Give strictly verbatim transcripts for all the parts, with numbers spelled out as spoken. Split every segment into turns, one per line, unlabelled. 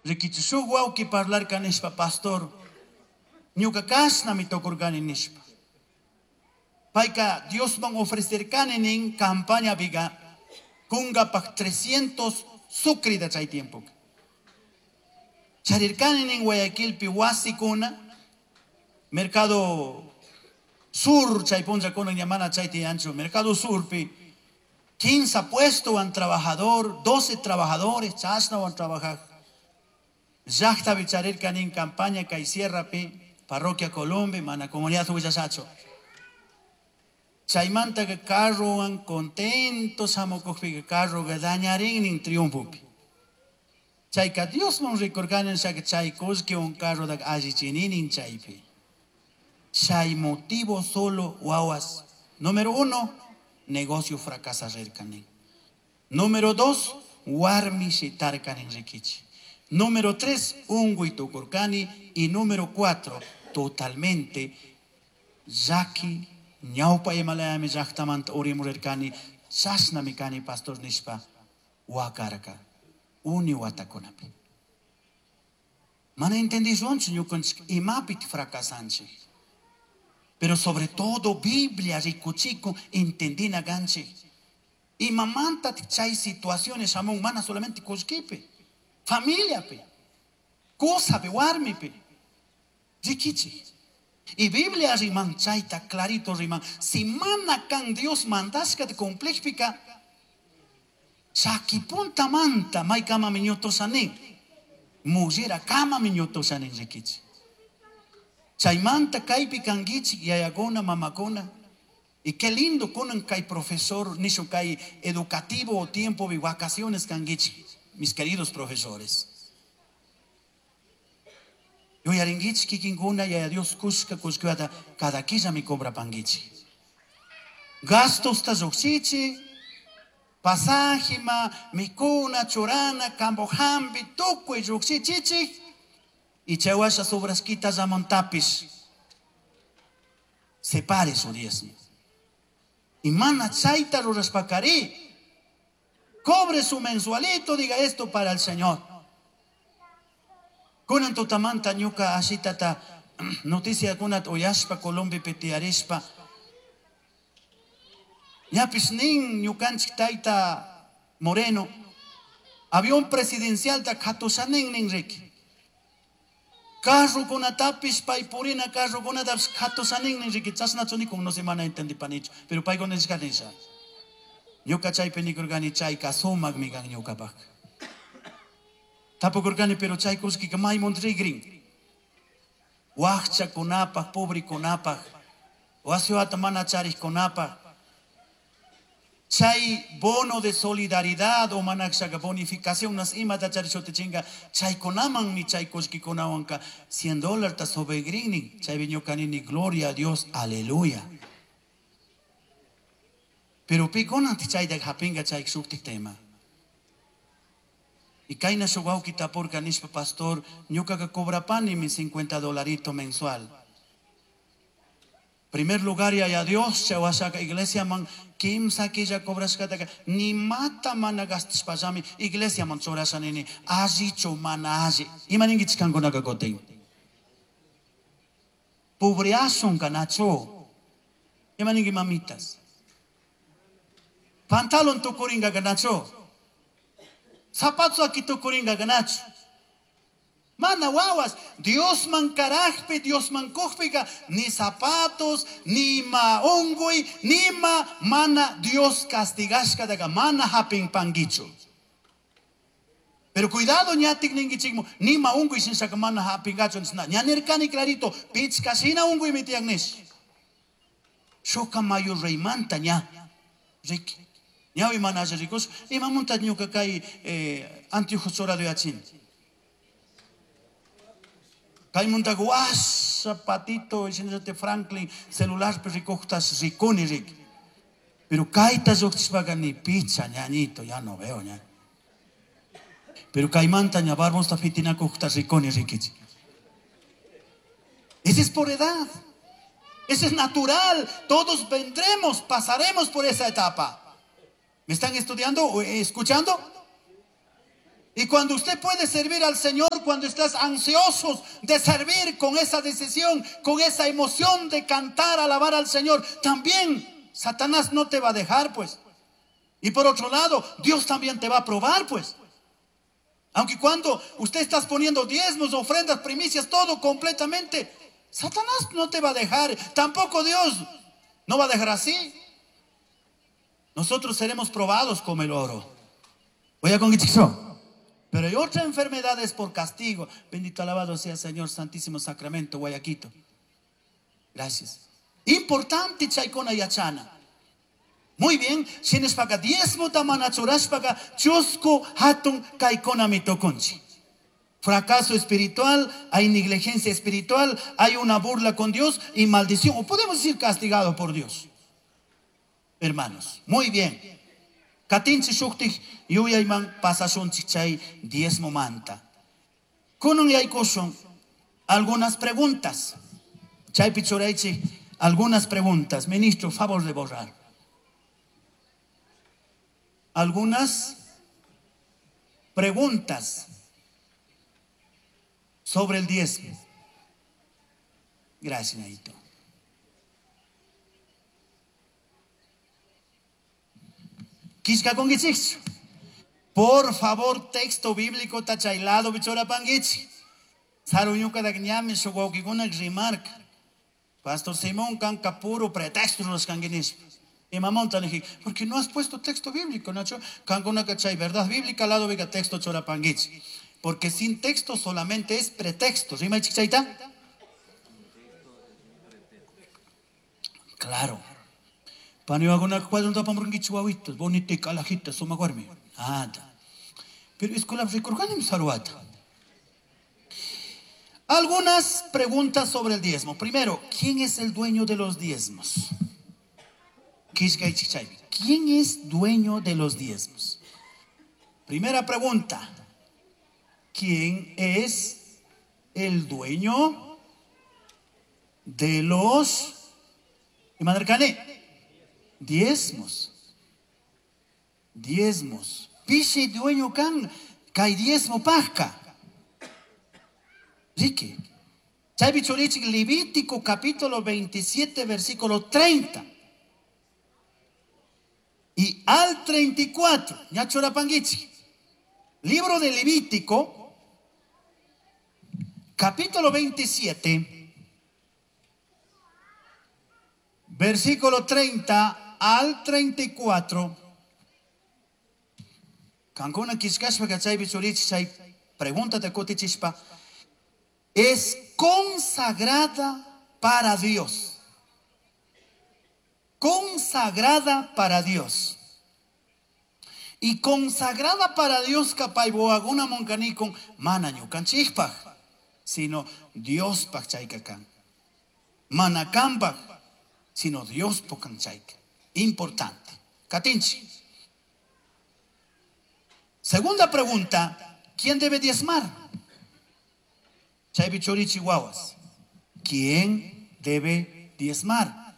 Rikichi shuk wawki parlarka nishpa pastor ñuka kashnami tukurkani nishpa. Payka Diosman ofrecerkani nin campañapiqa kunkapak trescientos sucrita chay tiempoka. Charirkani nin Guayaquilpi wasikuna, Mercado Sur chay punllakuna ña mana chay tiyanchu, Mercado Surpi quince puesto trabajador, doce trabajadores chashnawan trabajaj. Llaqtapi charirkani nin campaña kay sierrapi, parroquia Colombia, mana comunidad willashachu. Chaymantaka carrowan contento shamukuqpiqa carroqa dañarin triunfopi. Chayka Diosman rikurkani nishaka chay kullkiwan carrotaka allichininin chaypi. Chay motivo solo wawas. Número uno, negocio fracasarrirkanin. Número dos, warmi shitarkanin rikichi. Número tres, unguy tukurkani. Y número cuatro, totalmente llaki ñawpa imalayami llaqtamanta urimurirkani, chashnami kani pastor nishpa wakarka uni watakunapi. Mana entendishunchu ñukanchik imapi fracasanchik. Pero sobre todo Biblia rikuchikun entendina kanchik. Imamanta chay situaciones shamun mana solamente kullkipi, familiapi, kusapi, warmipi. Rikichik. Y Biblia riman chayta clarito riman. Si mana kan Dios mandashkata cumplishpika, chaki puntamanta maykamami ñutushanin, mullera kamami ñutushanin rikichik. Chaymanta kaypi kankichik yayakuna, mamakuna. Y qué lindo kunan kay profesor, nishu kay educativo tiempo de vacaciones kankichik, mis queridos profesores. Yuyarinkichik kikinkuna yaya Dios kushka kushkata cada killami cobrapankichik. Gastosta llukshichik, pasajima, mikuna, churana, campo hampi, tukuy llukshichichik. Y chaywasha sobrasquita llamantapish. Separe su diezmo. Y mana chayta rurashpakari. Cobre su mensualito, diga esto para el Señor. Kunan tutamanta ñuka ashitata noticia kunat uyashpa Colombiapi tiyarishpa. Ñapish nin ñukanchik tayta Moreno, avión presidencial ta katushanin nin riki. Carrokunatapish pay purina carrokunatapish katushanin nin riki. Chashnachu nikun no se mana entendipanichu, pero paykuna nishka nisha. Ñuka chaypi nikurkani chayka sumakmi kan ñukapak. Tapukurkani pero chay kullkika maymun rigrin. Wakchakunapaj, pobrikunapaj, wasiwata mana charikkunapaj. Chay bono de solidaridad o manakshaka bonificación nas imata charishutichinga chaykunamanmi chay kullkikunawanka cien dólar ta sobregrinnin chaypi ñukanini gloria a Dios, aleluya. Pero pikunanti chayta hapinga chay shuktik tema. Y kayna shuk wawki tapurka nishpa pastor ñukaka cobrapani mi cincuenta dolarito mensual. Primer lugar ya Dios chawashaka iglesia man kimsa killa cobrashkataka ni mata mana gastashpallami iglesia man churashanini allichu mana alli. Ima ninkichik kankunaka kutin? Pobriasun kanachu. Ima ninki mamitas? Pantalon tukuringa kanachu. Zapato aki tukuringa kanachu. Mana wawas, Dios man karajpi, Dios man kujpika, ni zapatos, ni ma ungui, ni ma mana Dios castigashka daga mana hapin pangichu. Pero cuidado ñatik ningichikmu, ni ma ungui sin saka mana hapingachu nisna. Ñanirkani clarito, pichkashina ungui mitiak nish. Shuka mayo reymanta ña. Riki. Ñawi mana ricos, imamunta ñuka kay eh, anteojos chorado yachin. Kaymunta guasa patito, diciéndote Franklin, celular ricojtas riconi ric. Pero kaita lluqchishpaqa ni picha ñañito, ya no veo ña. Pero kaymanta ña barbosta fitinakujta riconi rikichi. Ese es por edad. Ese es natural. Todos vendremos, pasaremos por esa etapa. ¿Me están estudiando o escuchando? Y cuando usted puede servir al Señor, cuando estás ansioso de servir con esa decisión, con esa emoción de cantar, alabar al Señor, también Satanás no te va a dejar, pues. Y por otro lado, Dios también te va a probar, pues. Aunque cuando usted está poniendo diezmos, ofrendas, primicias, todo completamente, Satanás no te va a dejar. Tampoco Dios no va a dejar así. Nosotros seremos probados como el oro. Voy a conquistar. Pero hay otra enfermedad, es por castigo. Bendito alabado sea el Señor Santísimo Sacramento, Guayaquito. Gracias. Importante chaykuna yachana. Muy bien, shinashpaka diezmota mana churashpaka chusku hatun kaykunami tukunchik. Fracaso espiritual, hay negligencia espiritual, hay una burla con Dios y maldición, o podemos decir castigado por Dios. Hermanos, muy bien. Katinchik shuktik yuyayman pasashunchik chay diezmo manta. Kunan yaykushun algunas preguntas. Chaypi churaychik algunas preguntas. Ministro, favor de borrar. Algunas preguntas sobre el diezmo. Gracias, Naito. Por favor, texto bíblico tachaylado bichora panguichi. Saruñuka dagñami shuwawkikuna rimarka. Pastor Simón kanka puro pretexto los kanguinispa. Y mamón te porque no has puesto texto bíblico, Nacho. Kankuna cachay verdad bíblica al lado vega texto chora panguichi. Porque sin texto solamente es pretexto. ¿Rima chichaita? Claro. Pero algunas preguntas sobre el diezmo. Primero, ¿quién es el dueño de los diezmos? ¿Quién es dueño de los diezmos? Primera pregunta. ¿Quién es el dueño de los diezmos? Diezmos. Pishi dueño kan kai diezmo pasca. Rique. Chaypi churichik Levítico capítulo veintisiete versículo treinta. Y al treinta y cuatro. Ñachurapanguichi. Libro de Levítico, capítulo veintisiete, versículo treinta al treinta y cuatro. Kankuna kishkashpa kachaypi churichi chay pregunta te kutichispa. Es consagrada para Dios. Consagrada para Dios. Y consagrada para Dios kapayboaguna monkanikun mana ñukanchikpaj, sino Diospaj chayka kan. Mana kanpaj, sino Diospaj kan chayka. Importante. Katinchi. Segunda pregunta, ¿quién debe diezmar? Chaypi churichi wawas. ¿Quién debe diezmar?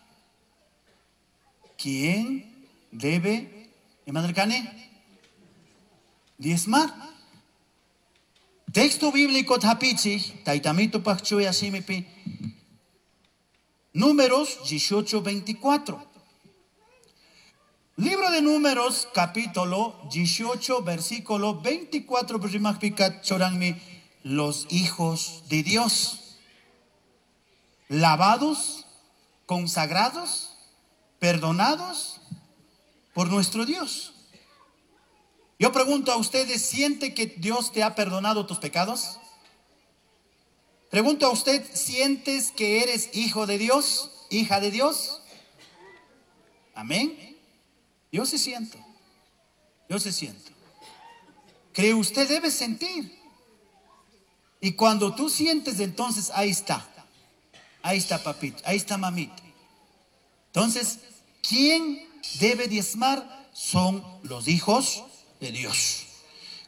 ¿Quién debe, imanarkani? Diezmar. Texto bíblico tapichi, taitamito pachchuya shimipi. Números dieciocho veinticuatro. Libro de Números, capítulo dieciocho, versículo veinticuatro, choranmi, los hijos de Dios, lavados, consagrados, perdonados por nuestro Dios. Yo pregunto a ustedes, ¿siente que Dios te ha perdonado tus pecados? Pregunto a usted, ¿sientes que eres hijo de Dios, hija de Dios? Amén. Yo sí siento. Yo sí siento. Cree usted debe sentir. Y cuando tú sientes, entonces ahí está. Ahí está papito, ahí está mamita. Entonces, ¿quién debe diezmar? Son los hijos de Dios.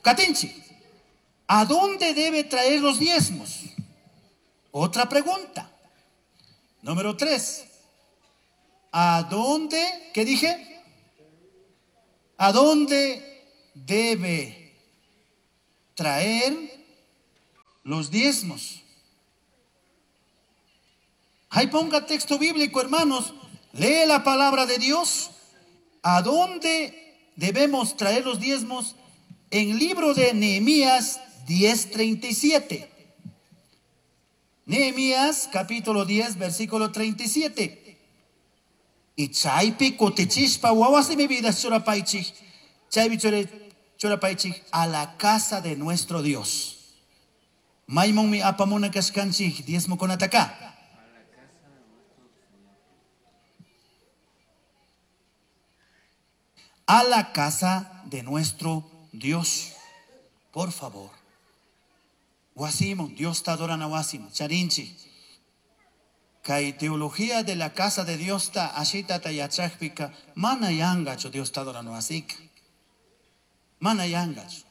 Katinchi, ¿a dónde debe traer los diezmos? Otra pregunta. Número tres. ¿A dónde? ¿Qué dije? ¿A dónde debe Traer los diezmos. Ahí ponga texto bíblico, hermanos. Lee la palabra de Dios. ¿A dónde debemos traer los diezmos? En libro de Nehemías diez treinta y siete. Nehemías capítulo diez, versículo treinta y siete. Y chaypi kutichishpa wawasi mi vida churapaychik, chaypi churapaychik a la casa de nuestro Dios. Maymunmi apamuna kashkanchik diezmo kunataka. A la casa de nuestro Dios. Por favor. Wasimun, Dios ta adorana wasimun, charinchi. Kay teología de la casa de Dios ta ashita ta yachakpika, mana yangachu Dios ta adorana wasika. Mana yangachu.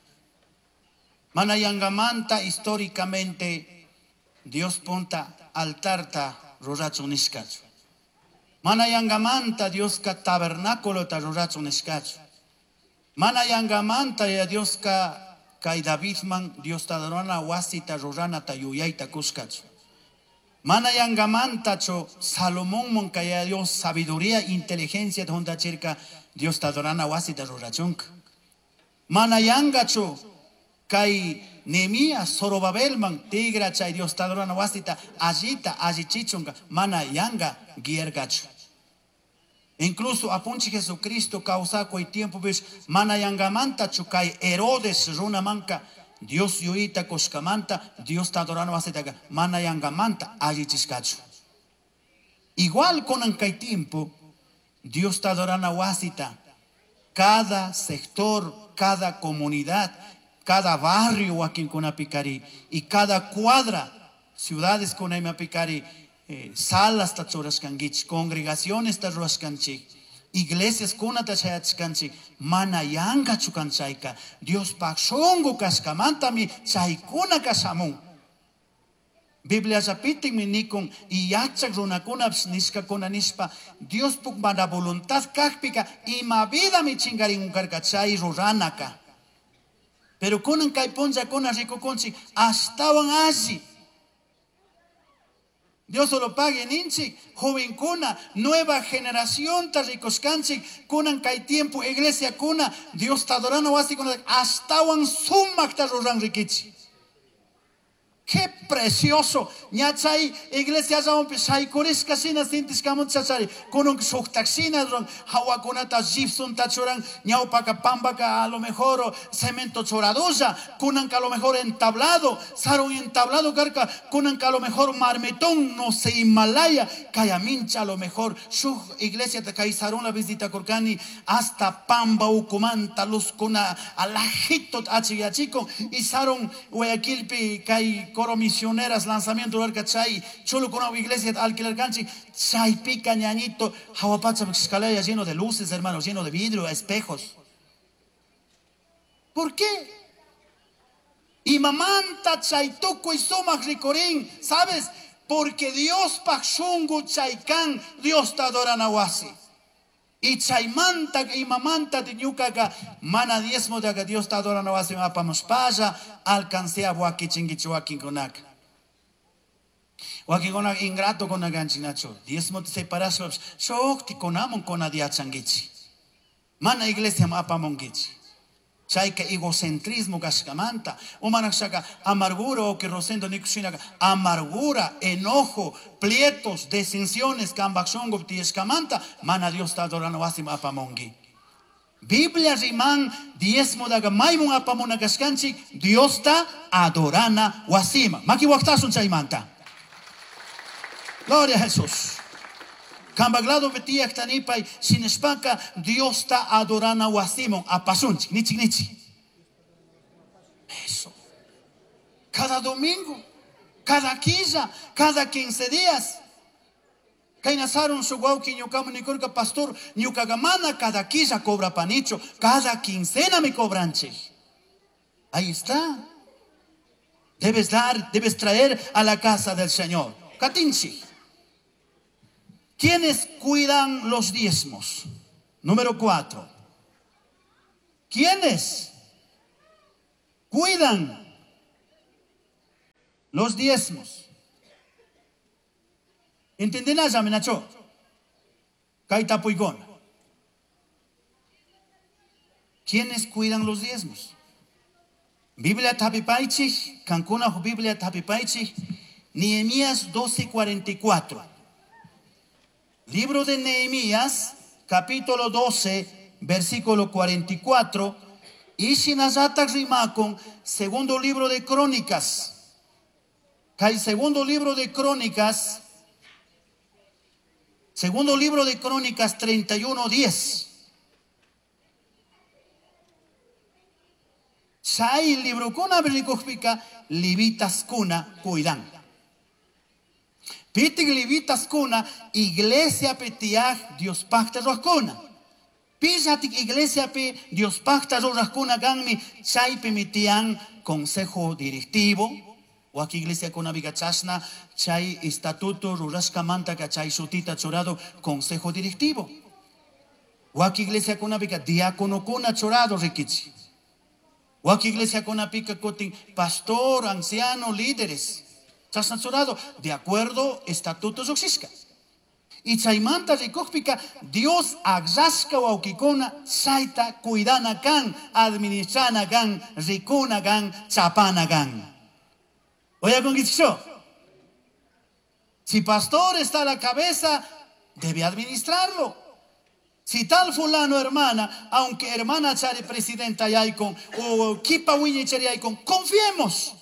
Mana yangamanta históricamente Dios punta altarta rurachun nishkachu. Mana yangamanta Dios ka tabernáculo ta rurachun nishkachu. Mana yangamanta ya Dios ka kay Davidman Dios ta adorana wasita rurana ta yuyayta kushkachu. Mana yangamanta cho Salomón mon kaya Dios sabiduría, inteligencia junta chirka Dios ta adorana wasita rurachunka. Mana yangacho kay Nehemías Zorobabelman tigra chay Dios ta adorana wasita allita allichichunka mana yanga giergacho. Incluso apunchi Jesucristo causaco y tiempo ves mana yangamanta chukay Herodes runamanka Dios yuita koshkamanta Dios ta adorano wasitaka mana yangamanta allichishkachu. Igual con kay tiempo Dios ta adorana wasita cada sector, cada comunidad, cada barrio wakinkunapikari y cada cuadra, ciudades kunaymapikari, eh, salas ta churashkankichik, congregaciones ta rurashkanchik, iglesias kunata chayachkanchik, mana yankachu kanchayka, Diospaq shunqu kashkamantami chaykuna kashamun. Biblia llapitinmi nikun y yachak runakunapish nishkakuna nishpa Diospuk mana voluntad kajpika ima vidami chingarin karka chay ruranaka. Pero kunan kay punllakuna rikukunchik ashtawan alli. Dios solo pague ninchik, jovencuna, nueva generación ta rikushkanchik, kunan kay tiempo iglesia kuna, Dios ta adorana wasi kuna ashtawan sumakta ruran rikichi. Qué precioso. Ñachay iglesia llamanpi shaykurishka shina sintishkamun chachari. Kunun shuktak shina ruran, hawakunata gypsum ta churan, ñawpaka pampaka a lo mejor cemento churadulla, kunanka a lo mejor entablado, sarun entablado karka, kunanka a lo mejor marmetón, no sé, Himalaya, kayamincha a lo mejor, shuk iglesia ta kay sarun la visita kurkani, hasta pamba ukumanta luz kuna alajito achiyachiko, y sarun Guayaquilpi kay coro misioneras lanzamiento arca chay cholo con una iglesia alquiler canchi chay pica ñañito jahuapacha escalera lleno de luces, hermanos, lleno de vidrio, espejos. ¿Por qué? Y mamanta chay tuco y sumac ricorín, ¿sabes? Porque Dios pachungu chaycan, Dios te adora wasi. Y chaymanta y mamanta de ñucaca mana diezmo de que Dios te adora no hace mapamos paya alcancé a wakin konak. Wakin konak ingrato con aganchinacho. Diezmo te separas shokti konamon konadiachangichi. Mana iglesia mapamongichi. Chayka egocentrismo kashkamanta, umanakshaka amargura o que rosendo nikushinaka amargura, enojo, plietos, disensiones, kambakshongo tiyeshkamanta, mana Dios ta adorano wasim apamongi. Biblia riman diezmo daga maymun apamuna kashkanchik, Dios ta adorana wasima. Maki waktasun chaymanta. Gloria a Jesús. Kambaglado betiak tanipay sinespaka Dios ta adorana wasimon apasunchik nichik nichik. Eso. Cada domingo, cada quilla, cada quince días. Kainasarun su guauki ñukamu nikurka pastor ñukagamana cada quilla cobra panicho, cada quincena me cobranche. Ahí está. Debes dar, debes traer a la casa del Señor. Katinchi. ¿Quiénes cuidan los diezmos? Número cuatro. ¿Quiénes Cuidan los diezmos. ¿Entendinalla, Nacho? Kay tapuykuna. ¿Quiénes cuidan los diezmos? Biblia tapipaichik, kankuna Biblia tapipaichik, Nehemías doce cuarenta y cuatro. Libro de Nehemías, capítulo doce, versículo cuarenta y cuatro. Y shinallata rimakun, segundo libro de Crónicas. Kay segundo libro de Crónicas, segundo libro de Crónicas treinta y uno, diez. Chay librokuna rikukpika levitaskuna cuidan. Pitik levitaskuna iglesia petiaj Dios pacta rurakuna. Pillatik iglesia pe Dios pacta rurakuna ganmi chaypi mitian consejo directivo. Waki iglesia kuna biga chashna chay estatuto rurashkamanta ka chay shutita churado consejo directivo. Waki iglesia kuna biga diácono kuna churado rikichi. Waki iglesia kuna pica kotin pastor, anciano, líderes. Chashna churado de acuerdo estatuto lluqshishka. Y chaymanta rikukpika Dios akllasqa wawqikuna chayta cuidana kan, administrana kan, rikuna kan, chapana kan. Oye, si pastor está a la cabeza, debe administrarlo. Si tal fulano, hermana, aunque hermana chari presidenta yaikon o kipa wiñi chari yaikon, confiemos.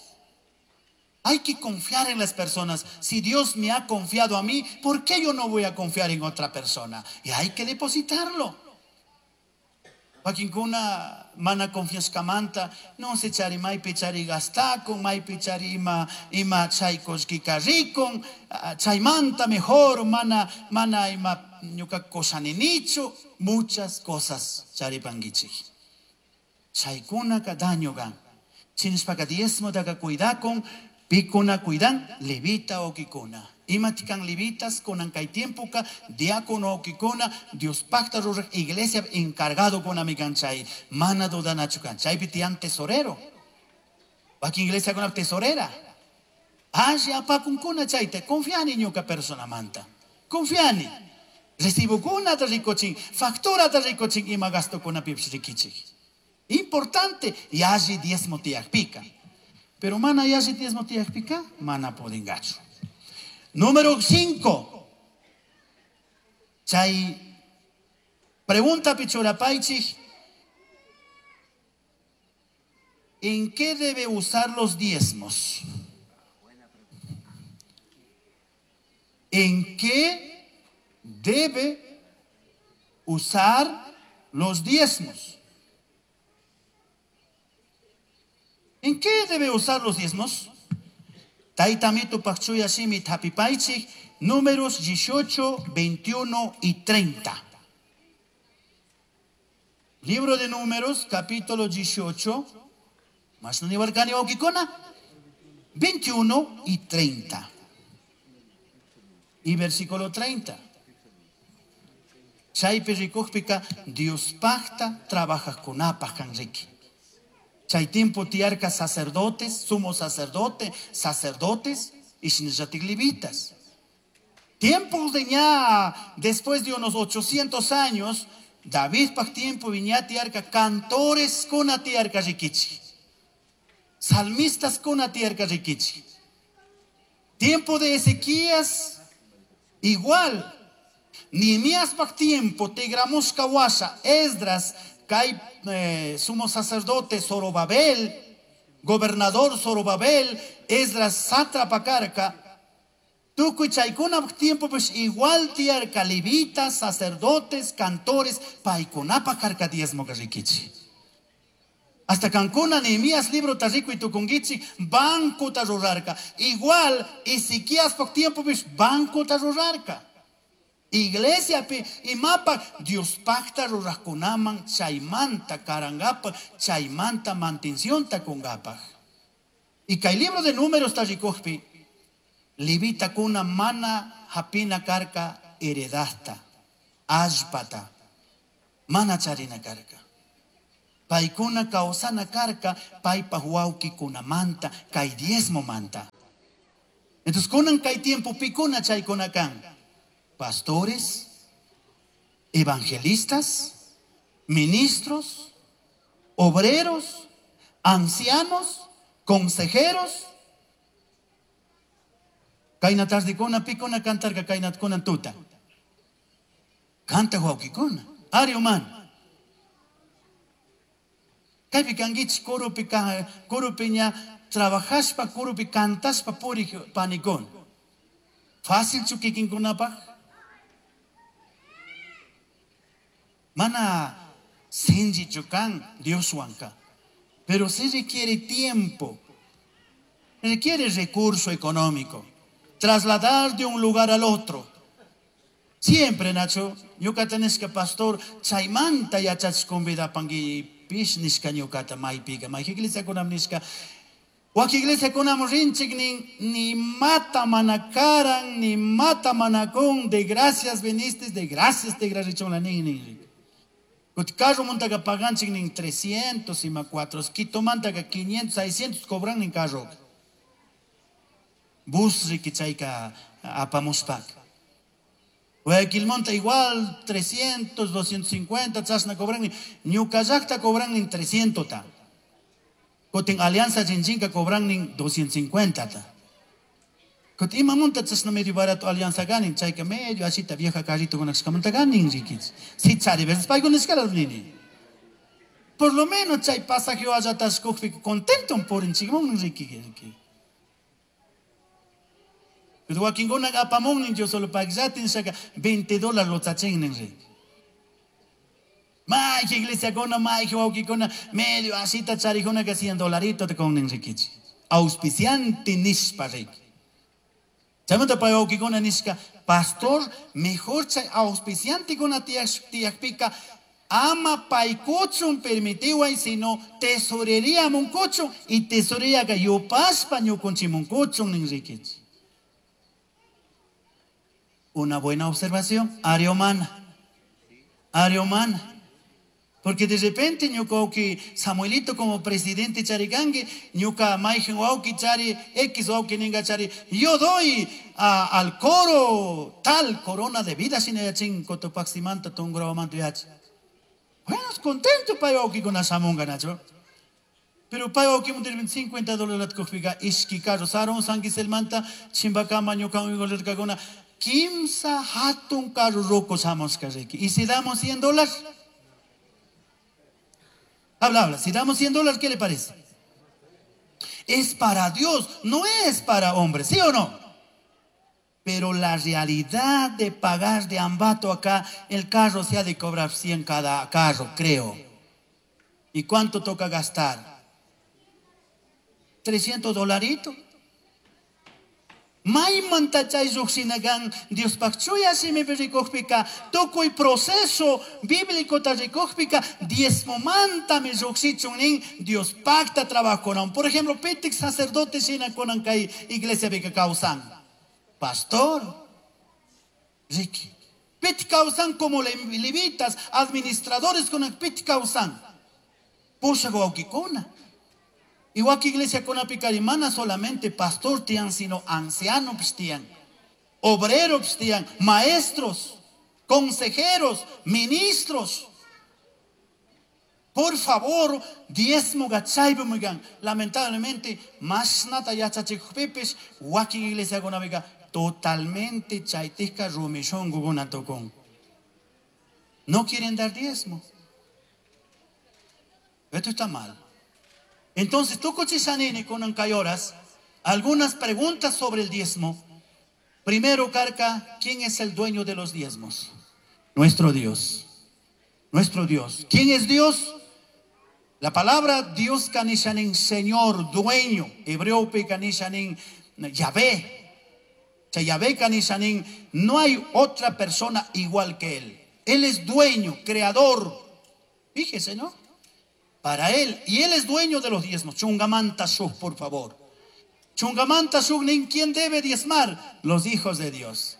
Hay que confiar en las personas. Si Dios me ha confiado a mí, ¿por qué yo no voy a confiar en otra persona? Y hay que depositarlo. Wakinkuna mana confiaskamanta, no se chari maypi chari gastakun, maypi chari ima, ima chaykushkika rikun, chaymanta mejor, mana, mana ima ñuka koshaninichu, muchas cosas charipankichik. Chaykunaka daño gan. Chinishpaka diezmotaka cuidakun, pikuna cuidan, levita okikuna. Imatikan levitas, kunan kay tiempoka, diácono okikuna, Dios pacta ruraj, iglesia encargado con amiganchay, mana dudanachukan, chaypi tiyan tesorero. Waki iglesia con tesorera. Ashi apakunkuna chayta, confiani ñuka persona manta. Confiani. Recibo kuna ta rikochin, factura ta rikochin, ima gasto kuna pipsh rikichik. Importante, y alli diezmo tiakpika. Pero mana yalli diezmo tiakpika, mana podingachu. Número cinco. Chay pregunta pichurapaichik, ¿en qué debe usar los diezmos? ¿En qué debe usar los diezmos? ¿En qué debe usar los diezmos? Taitamito pakchuya shimi tapipaichik, números dieciocho, veintiuno y treinta. Libro de Números, capítulo dieciocho, más no ni barcani okikona, veintiuno y treinta. Y versículo treinta. Chaypi rikukpika, Dios pacta, trabaja con apajan riki. Chay tiempo tiarca sacerdotes, sumo sacerdote, sacerdotes y shinallatik levitas. Tiempos de ña, después de unos ochocientos años, David pak tiempo viña tiarca cantores con tiarca rikichi. Salmistas con tiarca rikichi. Tiempo de Ezequías, igual. Nehemías pak tiempo, Tegramusca washa, Esdras, Kai eh, sumo sacerdote Zorobabel, gobernador Zorobabel, Esdras sátrapa carca, tukuy chaykuna tiempo pues igual tiarca levitas, sacerdotes, cantores, paykunapa karka diezmo rikichi. Hasta Cancuna, Nehemías libro tarrico y tukungichi, banco tarrurarca. Igual Ezequías por tiempo pues banco tarrurarca. Iglesia pi imapa Dios pacta rurakunaman chaymanta karangapa chaymanta mantención ta kungapa. Y kay libro de Números tarrikujpi levita kuna mana hapina karka heredasta allpata mana charina karka. Paykuna kawsana karka paypaj wawkikunamanta kay diezmomanta. Entonces kunan kay tiempo pikuna chaykuna kan? Pastores, evangelistas, ministros, obreros, ancianos, consejeros. Kayna tardikuna pikuna cantarka kayna kunan tuta. Canta wawkikuna. Ari humano. Kaypi kankichik kurupi kurupiña trabajashpa kurupi cantashpa purik panikuna. Fácil chu kikinkunapaj? Mana sinchichu kan Dioswanka. Pero sí requiere tiempo. Requiere recurso económico. Trasladar de un lugar al otro. Siempre, Nacho, ñuka tenés que pastor chaymanta yachach convidapanki pish nishka ñukata maypiga. Mayqa iglesiakunam nishka. Wak iglesiakunam rinchik nin ni mata manakaran, ni mata manakun, de gracias viniste, de gracias te gracias nin nin. Kut carro montaga paganchik nin trescientos ima cuatro, Quito mantaga quinientos, seiscientos cobran nin carro. Bus rikichayka apamuspak. Guayaquilmonta igual trescientos, doscientos cincuenta, chasna cobran nin. Ñucallacta cobran nin trescientos ta. Kutin Alianza Chinchinka cobran nin doscientos cincuenta ta. Kutin ima monta chasna medio barato Alianza ganin, chayka medio asita vieja carrito con axkamanta ganin rikich. Si chari veces paygun escalas nini. Por lo menos chay pasaje allatas kukpi contento por inchigmon riki. Pero wakinkuna apamun nin yo solo pagllatin shaka veinte dólares lo tachin nin riki. Mayqa iglesiakuna, mayqa wawkikuna, medio asita charijuna que cien dolarito te con nin rikich. Auspiciante nishpa riki. Chaymanta pay wawkikuna nishka, pastor, mejor chay auspiciante kuna tiyakpika ama paykuchun permitiway, sino tesorería munkuchun y tesorería ka yupaspa ñukunchimunkuchun nin rikich. Una buena observación, área humana. Área humana. Porque de repente ñuka wawki Samuelito como presidente charikanki, ñuka mayqin wawki chari, X wawki ninga chari, yo doy a, al coro tal corona de vida sinayachin Cotopaximanta Tungurahua yachi. Bueno, contento pay wawkikuna shamunga nacho. Pero pay wawkimun cincuenta dólares kujpiqa ishki carro sarun sanquiselmanta chimbakama ñuka uygolirkakuna kimsa hatun carro roco shamushka riki. Y si damos cien dólares? Habla, habla. Si damos cien dólares, ¿qué le parece? Es para Dios, no es para hombres, ¿sí o no? Pero la realidad de pagar de ambato acá, el carro se ha de cobrar cien cada carro, creo. ¿Y cuánto toca gastar? trescientos dolaritos. Maymanta chay lluqshinakan Diospaq chuya simipi rikukpika tukuy proceso bíblico ta rikukpika diezmomantami lluqshichun nin Diospaqta trabajonan. Por ejemplo, pitik sacerdote shina kunan kay iglesiapika kawsan. Pastor, Ricky. Pit kawsan como levitas, administradores kunan pit kawsan. Pushaq wawkikuna. Igual que iglesia con mana solamente pastor tian, sino ancianos tian, obreros tian, maestros, consejeros, ministros. Por favor, diezmo gachaybumigan. Lamentablemente, más nata yachachikupipis, wakin iglesia con abiga, totalmente chaytisca rumishon guguna tocón. No quieren dar diezmo. Esto está mal. Entonces, tú cochishanini con ancayoras, algunas preguntas sobre el diezmo. Primero, Carca, ¿quién es el dueño de los diezmos? Nuestro Dios. Nuestro Dios. ¿Quién es Dios? La palabra Dios kanishanin, Señor, dueño. Hebreo pe kanishanin, Yahvé. Yahvé kanishanin, no hay otra persona igual que Él. Él es dueño, creador. Fíjese, ¿no? Para él, y él es dueño de los diezmos. Chungamanta shuk, por favor. Chungamanta shuk, nin, ¿quién debe diezmar? Los hijos de Dios.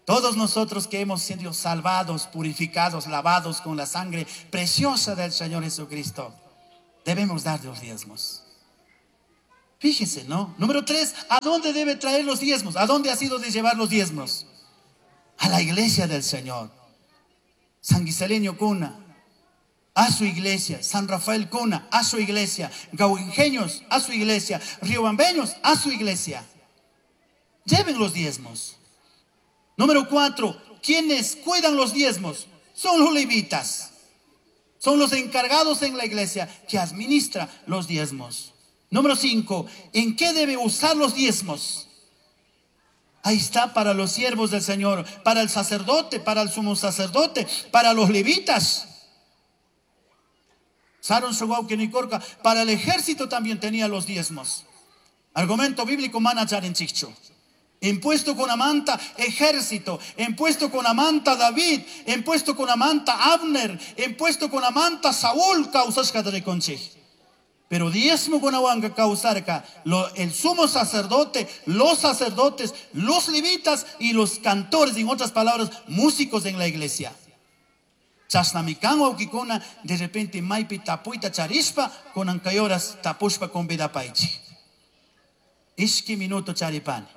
Todos nosotros que hemos sido salvados, purificados, lavados con la sangre preciosa del Señor Jesucristo, debemos dar los diezmos. Fíjese, ¿no? Número tres, ¿a dónde debe traer los diezmos? ¿A dónde ha sido de llevar los diezmos? A la iglesia del Señor. San Guiseleño Cuna, a su iglesia. San Rafael Cuna, a su iglesia. Gauingeños, a su iglesia. Riobambeños, a su iglesia. Lleven los diezmos. Número cuatro, quienes cuidan los diezmos son los levitas. Son los encargados en la iglesia que administra los diezmos. Número cinco, ¿en qué debe usar los diezmos? Ahí está, para los siervos del Señor, para el sacerdote, para el sumo sacerdote, para los levitas. Saron Shuauquenicorca, para el ejército también tenía los diezmos. Argumento bíblico mana charinchicho. Impuesto con amanta ejército, impuesto con amanta David, impuesto con amanta Abner, impuesto con amanta Saúl, causasca de conchij. Pero diezmo con ahuanca causarca, lo, el sumo sacerdote, los sacerdotes, los levitas y los cantores, en otras palabras, músicos en la iglesia. Chasnamikan wawkikuna, de repente maipi tapuita charishpa, con ancayoras tapushpa con vidapaichi. Ishki minuto charipani.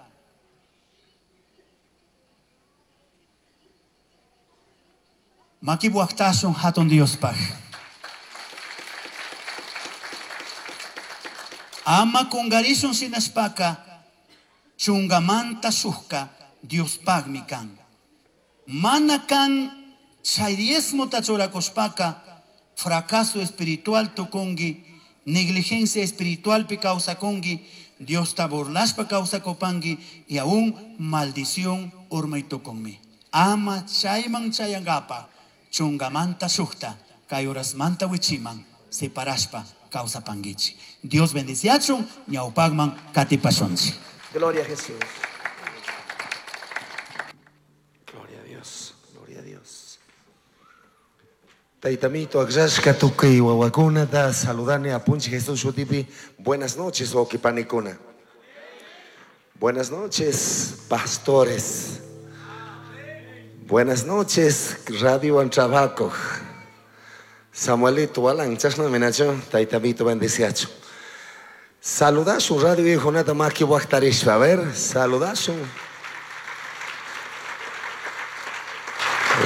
Makibuaktasun hatun Diospaj. Ama kungarishun sinashpaka, chungamanta shuhka Diospajmi kan. Mana kan chay diezmota churakushpaka, fracaso espiritual tukungi, negligencia espiritual pi kawsakungi, Diosta burlashpa kawsakupangi y aún maldición urmay tukunmi. Ama chayman chayangapa, chungamanta shuhta, kay horasmanta wichiman, separashpa kawsapangichi. Dios bendiciachun, ñawpagman katipashunchi.
Gloria a Jesús. Gloria a Dios, gloria a Dios. Taitamito, akllashka tukuy wawakunata saludani apunchi Jesús shutipi. Buenas noches, wawqipanikuna. Buenas noches, pastores. Buenas noches, Radio Antrabaco. Samuelito, Alan, chashna minacho, taitamito bendiciacho. Saludasun Radio Hijonata maki waqtarishpa. A ver, saludasun.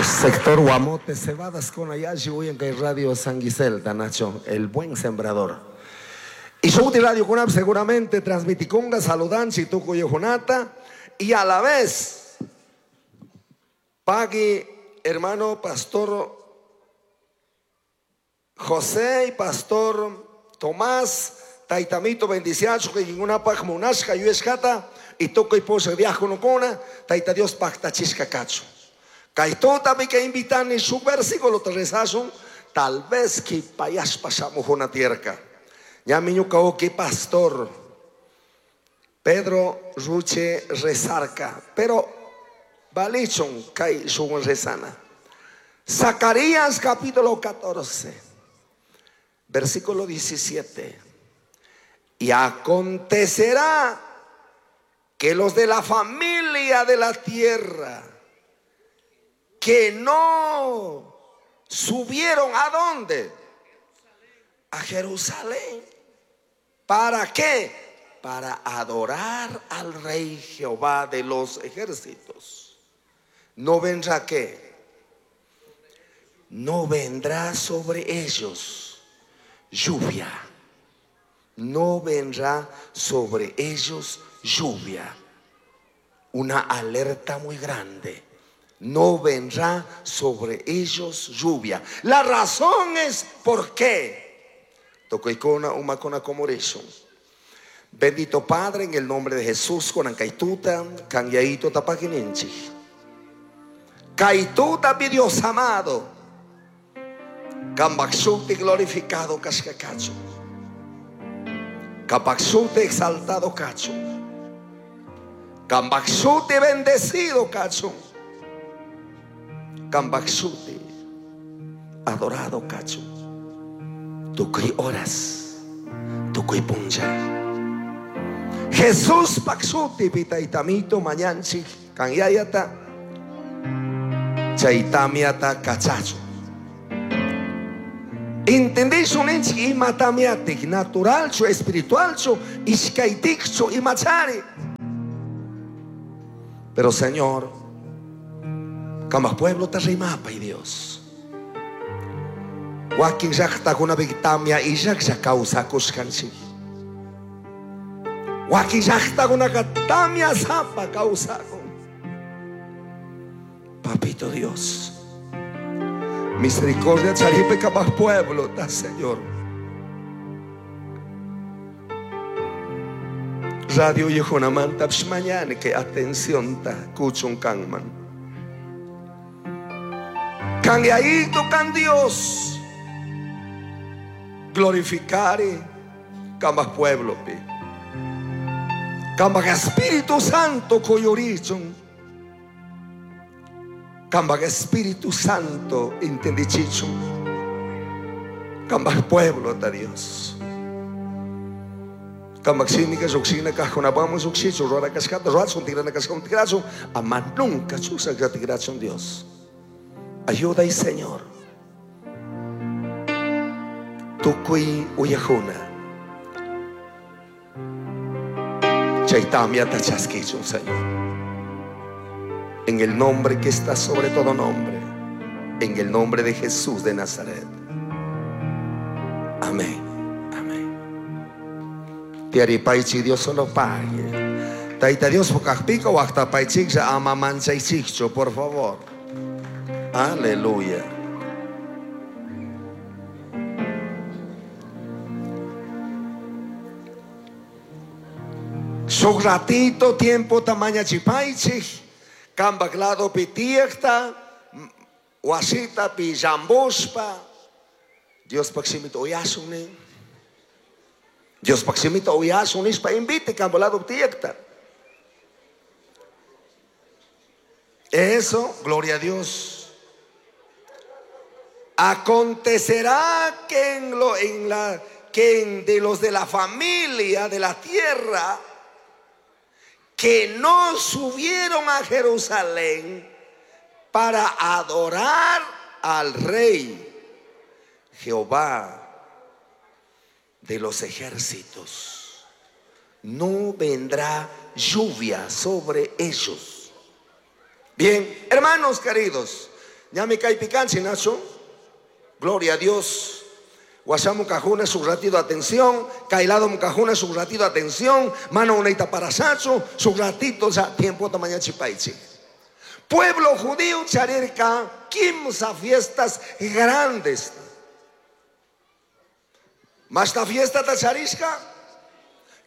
Sector Guamote, Cebadas con Ayashi, en Radio San Guisel, Nacho, el buen sembrador. Y Shouti Radio Conap seguramente transmiticonga, saludanchi, tuco y Jonata, y a la vez, pagui, hermano pastor José y pastor Tomás, Taitamito bendiciacho, que ninguna pag munashka, yueshkata, y toco y posa diácono cona, taita Dios pacta chisca cacho. Kaitota mi que invitan en su versículo te rezason, tal vez que payas pasamos una tierra. Ya mi que pastor Pedro Ruche rezarca, pero balichon kai su rezana. Zacarías capítulo catorce, versículo diecisiete. Y acontecerá que los de la familia de la tierra que no subieron, ¿a dónde? A Jerusalén. ¿Para qué? Para adorar al Rey Jehová de los ejércitos. ¿No vendrá qué? No vendrá sobre ellos lluvia. No vendrá sobre ellos lluvia. Una alerta muy grande. No vendrá sobre ellos lluvia. La razón es por qué. Tocoicona, umacona, comoreso. Bendito Padre, en el nombre de Jesús, con ancaituta, canyaito, tapaquinenchi. Kaituta, mi Dios amado. Cambaxuti glorificado, cascacacho. Cambaxuti exaltado, cacho. Cambaxuti bendecido, cacho. Cambaxuti adorado, cacho. Tukuy horas, tukuy puncha. Jesús paxuti pitaitamito mañanchi kanyayata. Chay tamiata kachachu. Entendishun ninchik ima tamiatik naturalchu, espiritualchu, ishkaytikchu, imachari. Pero Señor, kama pueblo ta rimapay Dios. Wakin llaqtakunapi tamia illaqlla kawsakushkanchik. Wakin llaqtakunaqa tamia sapa kawsakun. Papito Dios, misericordia charipe kama pueblo ta Señor. Radio Yehonamanta mañana que atención ta kuchun kanman. Kan yaito kan Dios. Glorificare kama pueblo pi. Kama Espíritu Santo koyorichun. Kama Espíritu Santo entendichichun. Kama pueblo ta Dios. Kama xínica xoxina kajunapamos xoxicho rora cascata ruachun tigrana cascata tigrachun ama nunca chusa tigrachun Dios. Ayuda y Señor. Tukuy uyajuna. Chaytamia tachaskichun, Señor. En el nombre que está sobre todo nombre. En el nombre de Jesús de Nazaret. Amén. Amén. Tiaripaichi Dios solo pague. Taita Dios pocajpico o hasta paichikcha amamanchaichicho, por favor. Aleluya. Su ratito tiempo tamaña chipaichi, cambaglado pitiekta, wasita pijambospa. Dios paximito oyasuni. Dios paximito oyasuni, pa invite cambalado pitiekta. Eso, gloria a Dios. Acontecerá que en lo en la que en de los de la familia de la tierra que no subieron a Jerusalén para adorar al Rey Jehová de los ejércitos, no vendrá lluvia sobre ellos. Bien, hermanos queridos, ya me cae picanchi, Nacho. Gloria a Dios. Guasamu cajuna su ratito atención, Kailado mukajuna su ratito atención, mano uneita para sacho, su ratito ya tiempo tamaña chipaichi. Pueblo judío charirka quince fiestas grandes. Mas la fiesta ta charishka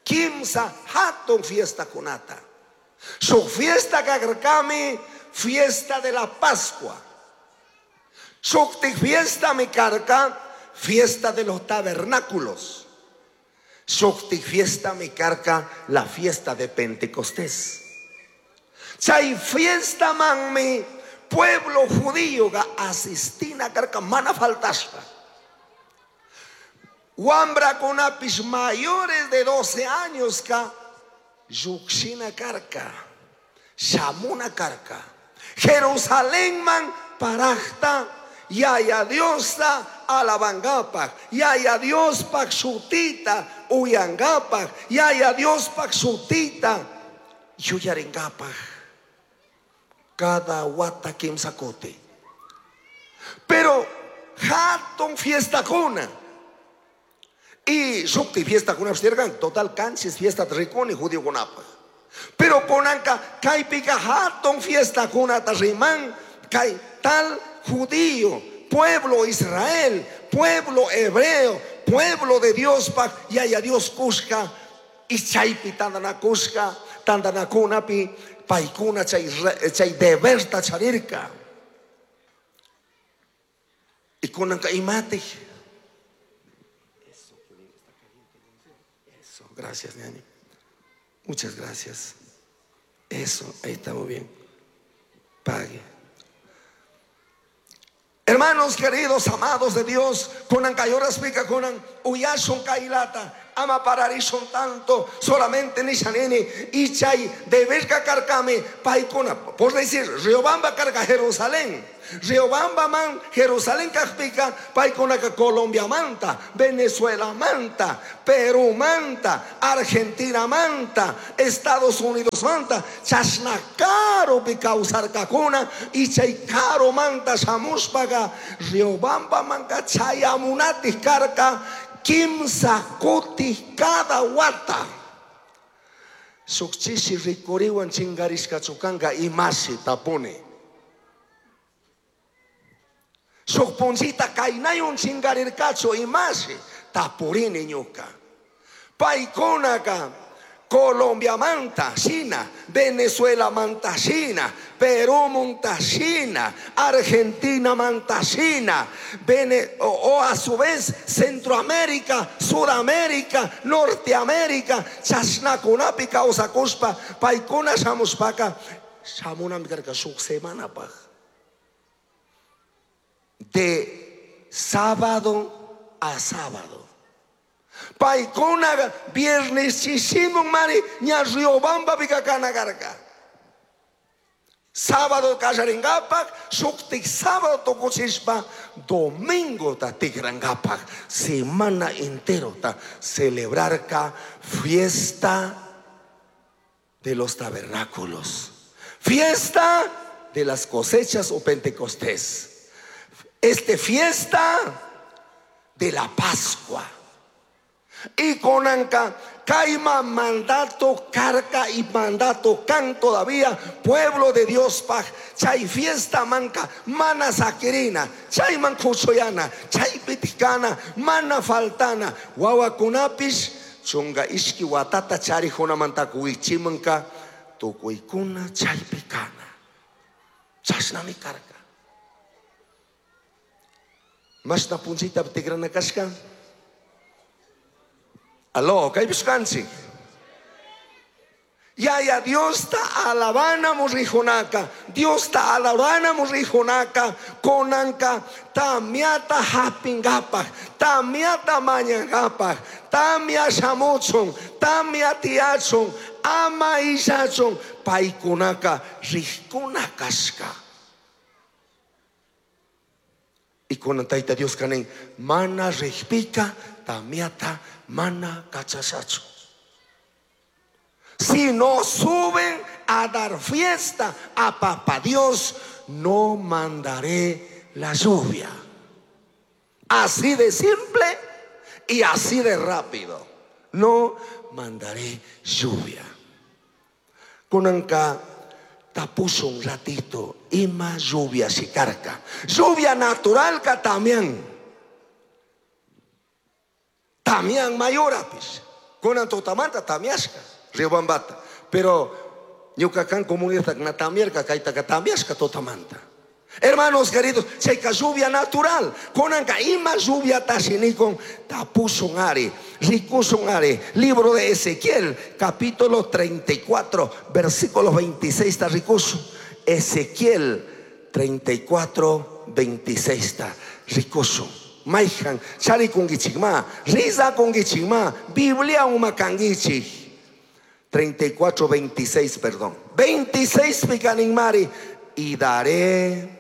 quince hatun fiesta kunata. Su fiesta kagarkami fiesta de la Pascua. Su fiesta mi carca fiesta de los tabernáculos. Shukti fiesta mi carca la fiesta de Pentecostés. Chay fiesta man mi pueblo judío ga asistina carca mana faltaspa. Wambra con apis mayores de doce años ka yuxina carca, shamuna carca. Jerusalén man parajta yaya Diosta alabangapak, yaya Dios pak sutita uyangapak, yaya Dios pak sutita yuyarengapak. Cada wata kimsakote. Pero hatun fiesta kuna. Y shukti fiesta kuna abstergan, total canchis fiesta triconi judío kunapa. Pero konanka kaipika hatun fiesta kuna tarriman kai tal judío, pueblo Israel, pueblo hebreo, pueblo de Dios pak yaya Dios kushka y chaypi tandana kushka tandana kunapi paikuna chay chay deberta charirka. Y kunanka imate. Eso, eso, gracias, ñaño. Muchas gracias. Eso, ahí está muy bien. Pague. Hermanos queridos, amados de Dios, kunan kayoras pika kunan uyashun kailata, Ama pararishun tanto, solamente nishanini y chay deberka karkami paykuna, por decir, Riobamba karka Jerusalén. Riobamba man Jerusalén kajpika paykunaka Colombia manta, Venezuela manta, Perú manta, Argentina manta, Estados Unidos manta, chashna karupi kawsarkakuna y chay karu manta shamushpaka Riobamba manka chayamunatik karka kimsa kuti cada wata. Shukchishi rikuriwan chingarishka chukanka imashi tapuni. Shuk punchita kaynayun chingarirkachu imashi tapurini ñuka. Paykunaka Colombia manta China, Venezuela manta China, Perú manta China, Argentina manta China, Vene-, o, o a su vez Centroamérica, Sudamérica, Norteamérica, chashnakunapi kawsakushpa, paykuna shamushpaka, shamunami karka shuk semanapaj. De sábado a sábado. Paykuna viernes chishimun mari ña Riobamba pikakana karka. Sábado kallaringapak, shuktik sábado tukuchishpa, domingo ta tikrangapak, semana entero ta celebrarka fiesta de los tabernáculos, fiesta de las cosechas o Pentecostés, este fiesta de la Pascua. Y con anca caima mandato carca y mandato can todavía pueblo de Dios paj chay fiesta manca mana saquirina chay mancuchoyana chay piticana mana faltana wawakunapis chunga ishki watata chari junamantakuichimanka tukuykuna chay picana chashnami carca mashna punchita tigrana kashka. Aló, kaypish kanchik. Yaya Dios ta alabana murrijunaka, Dios ta alabana murrijunaka, konanka tamiata hapingapaj, tamiata mañangapaj, tamia shamuchun, tamia tiachun, ama ishachun, paykunaka rijkuna kashka. Y con taita Dios kanin, mana rijpika, tamiata mana cachachacho. Si no suben a dar fiesta a Papá Dios, no mandaré la lluvia. Así de simple y así de rápido. No mandaré lluvia. Kunanka tapuso un ratito ima lluvia sicarca. Lluvia natural ka también. Tamián mayorapis. Kunan totamanta tamiashka, Riobambata. Pero ñuka comunidad na tamierka kaitaka tamiashka totamanta. Hermanos queridos, checa lluvia natural. Kunanka ima lluvia tashinikon tapusun ari, rikusun ari. Libro de Ezequiel, capítulo treinta y cuatro, versículo veintiséis, ta rikusun. Ezequiel treinta y cuatro, veintiséis, ta rikusun. Maihan, chari kungichikma, risa kungichikma, Biblia umakangichik. treinta y cuatro, veintiséis, perdón. veintiséis picaninmari. Y daré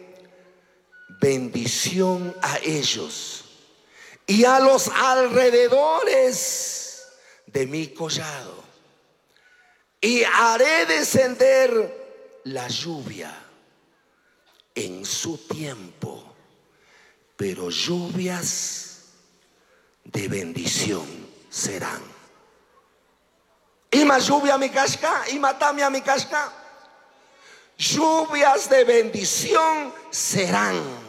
bendición a ellos y a los alrededores de mi collado. Y haré descender la lluvia en su tiempo, pero lluvias de bendición serán. Ima lluvia mi casca, ima tamia mi casca. Lluvias de bendición serán.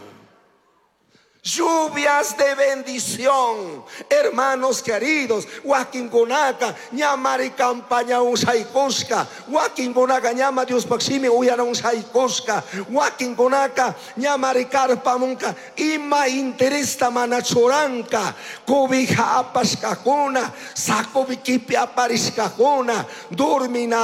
Lluvias de bendición, hermanos queridos. Wakingunaka, ñamari campaña un saikuska. Wakingunaka, ñama Dios paximi uyana un saikuska. Wakingunaka, ñamari carpa munka. Ima interesta manachoranka. Cobija apaskakuna, sacobi kipi aparishkakuna. Durmina.